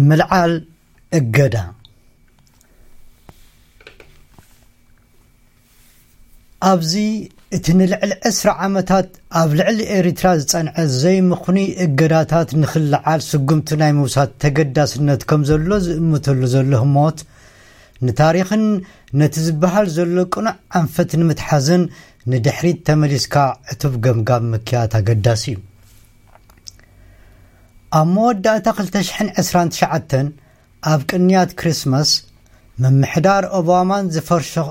ምልዓል እገዳ። ኣብዚ እቲ ንልዕሊ ዕስራ ዓመታት ኣብ ልዕሊ ኤሪትራ ዝጸንዐ ዘይምኽኑይ እገዳታት ንኽልዓል ስጉምቲ ናይ ምውሳድ ተገዳስነት ከም ዘሎ ዝእምተሉ ዘሎ ህሞት፣ ንታሪኽን ነቲ ዝበሃል ዘሎ ቅኑዕ ኣንፈት ንምትሓዝን ንድሕሪት ተመሊስካ ዕቱብ ገምጋም ምክያድ ኣገዳሲ እዩ። ኣብ መወዳእታ ክልተ ሽሕን ዕስራን ትሽዓተን ኣብ ቅንያት ክሪስማስ፣ ምምሕዳር ኦባማን ዝፈርሸ-፣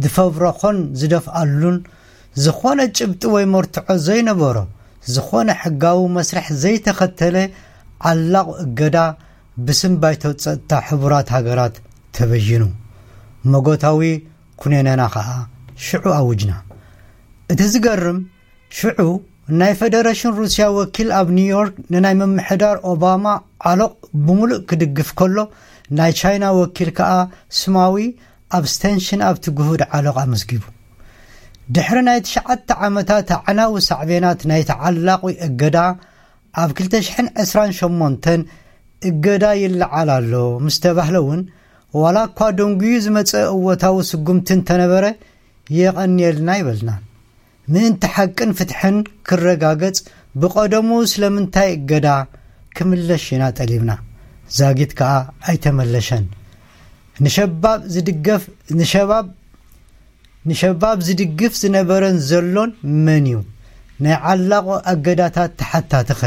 ዝፈብረኾን ዝደፍኣሉን ዝኾነ ጭብጢ ወይ መርትዖ ዘይነበሮ፣ ዝኾነ ሕጋዊ መስርሕ ዘይተኸተለ ዓላቕ እገዳ ብስም ባይቶ ጸጥታ ሕቡራት ሃገራት ተበይኑ። መጎታዊ ኩነነና ኸኣ ሽዑ ኣውጅና። እቲ ዝገርም፣ ሽዑ ናይ ፈደረሽን ሩስያ ወኪል ኣብ ኒውዮርክ ንናይ ምምሕዳር ኦባማ ዓሎቕ ብምሉእ ክድግፍ ከሎ፣ ናይ ቻይና ወኪል ከኣ ስማዊ ኣብስቴንሽን ኣብቲ ግሁድ ዓሎቕ ኣመስጊቡ። ድሕሪ ናይ ትሽዓተ ዓመታት ኣዕናዊ ሳዕቤናት ናይ ተዓላቒ እገዳ፣ ኣብ ክልተ ሽሕን ዕስራን ሸሞንተን እገዳ ይለዓል ኣሎ ምስ ተባህለ እውን፣ ዋላ እኳ ደንጉዩ ዝመጸ እወታዊ ስጉምቲ እንተነበረ፣ የቐንየልና ኣይበልናን። ምእንቲ ሓቅን ፍትሕን ክረጋገጽ፣ ብቐደሙ ስለምንታይ እገዳ ክምለሽ ኢና ጠሊብና። ዛጊት ከኣ ኣይተመለሸን። ንሸባብ ዝድገፍ፣ ንሸባብ፣ ንሸባብ ዝድግፍ ዝነበረን ዘሎን መን እዩ? ናይ ዓላቑ ኣገዳታት ተሓታቲኸ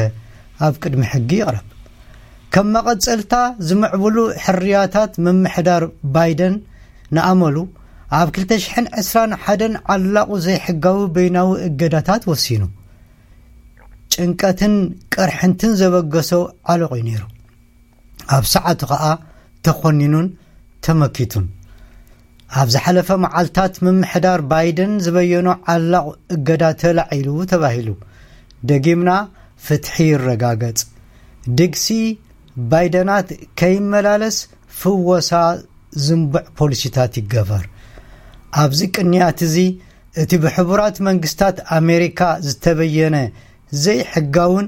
ኣብ ቅድሚ ሕጊ ይቕረብ። ከም መቐጸልታ ዝምዕብሉ ሕርያታት ምምሕዳር ባይደን ንኣመሉ፣ ኣብ ክልተ ሽሕን ዕስራን ሓደን ዓላቑ ዘይሕጋዊ በይናዊ እገዳታት ወሲኑ። ጭንቀትን ቅርሕንትን ዘበገሶ ዓሎቕ እዩ ነይሩ። ኣብ ሰዓቱ ኸኣ ተኾኒኑን ተመኪቱን። ኣብ ዝሓለፈ መዓልታት ምምሕዳር ባይደን ዝበየኖ ዓላቕ እገዳ ተላዒሉ ተባሂሉ። ደጊምና ፍትሒ ይረጋገጽ። ድግሲ ባይደናት ከይመላለስ ፍወሳ ዝንቡዕ ፖሊሲታት ይገበር። ኣብዚ ቅንያት እዚ እቲ ብሕቡራት መንግስታት ኣሜሪካ ዝተበየነ ዘይሕጋውን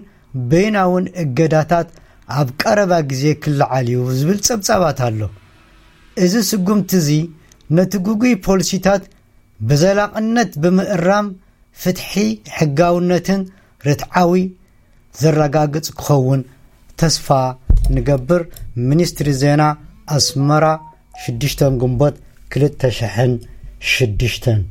በይናውን እገዳታት ኣብ ቀረባ ግዜ ክለዓል እዩ ዝብል ጸብጻባት ኣሎ። እዚ ስጉምቲ እዚ ነቲ ግጉይ ፖሊሲታት ብዘላቕነት ብምእራም ፍትሒ፣ ሕጋውነትን ርትዓዊ ዘረጋግጽ ክኸውን ተስፋ ንገብር። ሚኒስትሪ ዜና ኣስመራ፣ ሽዱሽተ ግንቦት ክልተ ሽሕን ሽዱሽተን።